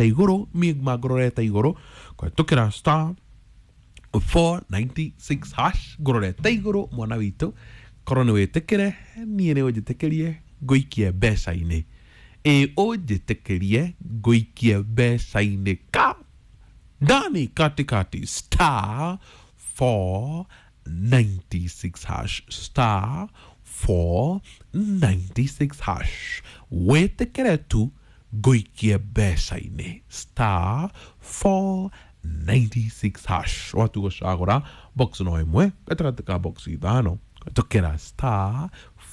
Igũrũ mangũrorete igũrũ kũhetũkĩra star 496 hash, ngũrorete igũrũ. Mwana witũ, korwo nĩ wĩtĩkĩre niĩ nĩ ũnjĩtĩkĩrie ngũikie mbeca-inĩ, ĩ ũnjĩtĩkĩrie ngũikie mbeca-inĩ ka ndani katikati, star 496 hash, star 496 hash. Wĩtĩkĩre tu ngũikie mbeca-inĩ, star 496 hash. Watu gũcagũra box no ĩmwe gatagatĩ ka box ithano, tũkĩra star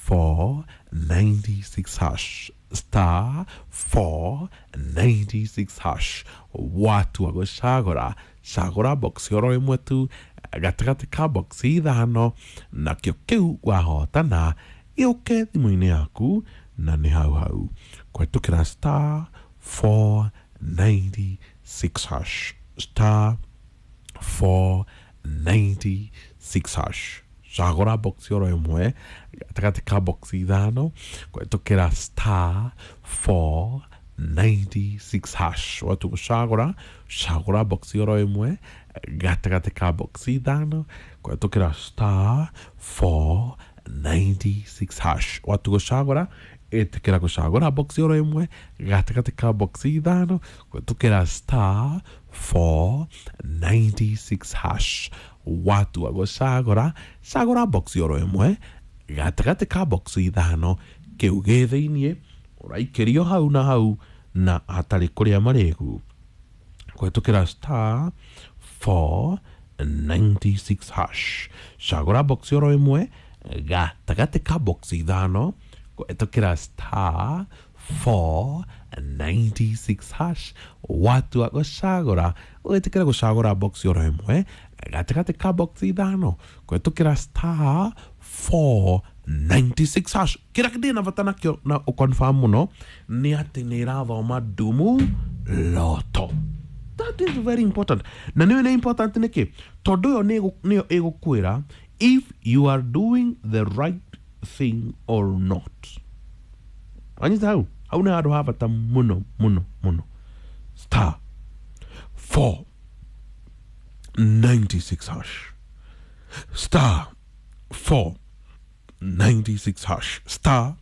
496 hash, star 496 hash. Watua gũcagũra, cagũra box oro ĩmwe tu gatagatĩ ka box ithano, nakĩo kĩu wahotana gĩũke thimũ-inĩ yaku na nĩ hau hau kũhetũkĩra star 496 hash, star 496 hash. Cagũra box oro ĩmwe gatagatĩ ka box ithano kũhetũkĩra star 496 hash. Watu gũcagũra, cagũra box oro ĩmwe gatagatĩ ka box ithano kũhetũkĩra star 496 hash. Watu gũcagũra, ĩtĩkĩra gũcagũra box oro ĩmwe gatagatĩ ka box ithano kũhetũkĩra star 496 hash. Watua gũcagũra, cagũra box oro ĩmwe gatagatĩ ka box ithano, kĩu gĩ thĩiniĩ ũraikĩrio hau na hau na hatarĩ kũrĩa marĩgu kũhetũkĩra star 496 hash. Cagũra box oro ĩmwe gatagatĩ ka box ithano kũhetũkĩra star 496 hash. Watua gũcagũra, ũgĩtĩkĩra gũcagũra box oro ĩmwe gatagatĩ ka box ithano kũhetũkĩra star 496 hash. Kĩrĩa ndĩ na bata nakĩo na ũconfirm mũno nĩ atĩ nĩ ĩrathoma ndumu loto. That is very important. Na nĩyo nĩ important nĩkĩ? Tondũ ĩyo nĩyo ĩgũkwĩra if you are doing the right thing or not. Wanyita hau? Hau nĩ handũ ha bata mũno mũno mũno. Star 496 hash, star 496 hash, star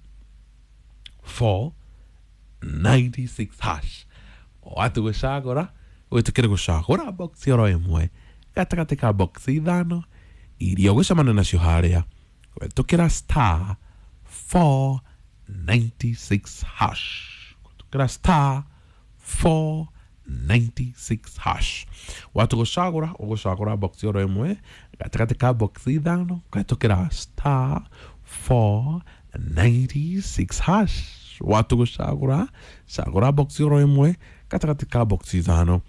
496 hash. Watu gũcagũra, wĩtĩkĩre gũcagũra box oro ĩmwe gatagatĩ ka box ithano iria ũgũcemania nacio harĩa kũhetũkĩra star 496 hash, kũhetũkĩra star 496 hash. Watu gũcagũra, ũgũcagũra box oro ĩmwe gatagatĩ ka box ithano kũhetũkĩra star 496 hash. Watu gũcagũra, cagũra box oro ĩmwe gatagatĩ ka box ithano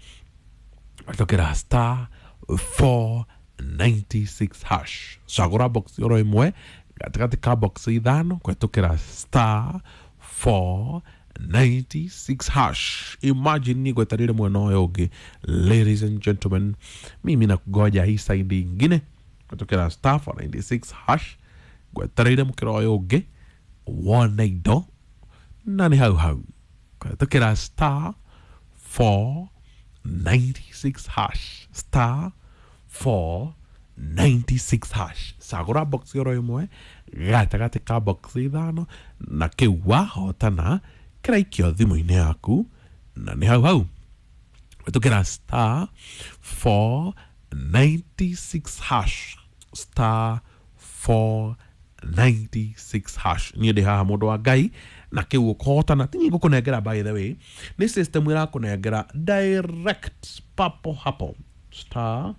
kũhetũkĩra star 496 hash. Cagũra box oro ĩmwe gatagatĩ ka box ithano kũhetũkĩra star 496 hash. Imagine ni gwetarire mwena ũyũ ũngĩ. Ladies and gentlemen, mimi nakugoja hii side ingine kũhetũkĩra star 496 hash. Gwetereire mũkĩra ũyũ ũngĩ wone indo na nĩ hau hau kũhetũkĩra star 496 hash, star 496 hash. Cagũra box oro ĩmwe gatagatĩ ka box ithano na kĩu wahotana kĩraikio thimũ-inĩ yaku na nĩ hau hau kũhetũkĩra star 496 hash, star 496 hash. Niĩ ndĩ haha, mũndũ wa Ngai, na kĩu ũkũhotana ti niĩ ngũkũnengera. By the way, nĩ system ĩrakũnengera direct papo hapo. Star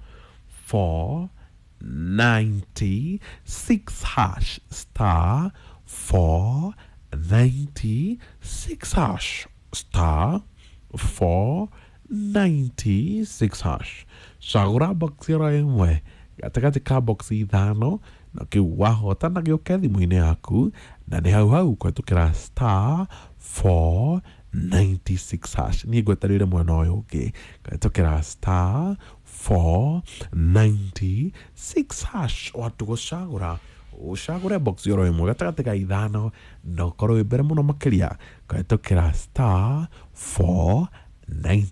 496 hash, star 496 hash, star 496 hash. Cagũra box ĩro ĩmwe gatagatĩ ka box ithano na kĩu wahotana gĩũke thimũ-inĩ yaku na nĩ hau hau kũhetũkĩra star 496 hash. Niĩ ngwetereire mwena ũyũ ũngĩ kũhetũkĩra star 496 hash. Watu gũcagũra, ũcagũre box oro ĩmwe gatagatĩ ka ithano na ũkorwo wĩ mbere mũno makĩria kũhetũkĩra star 4 90.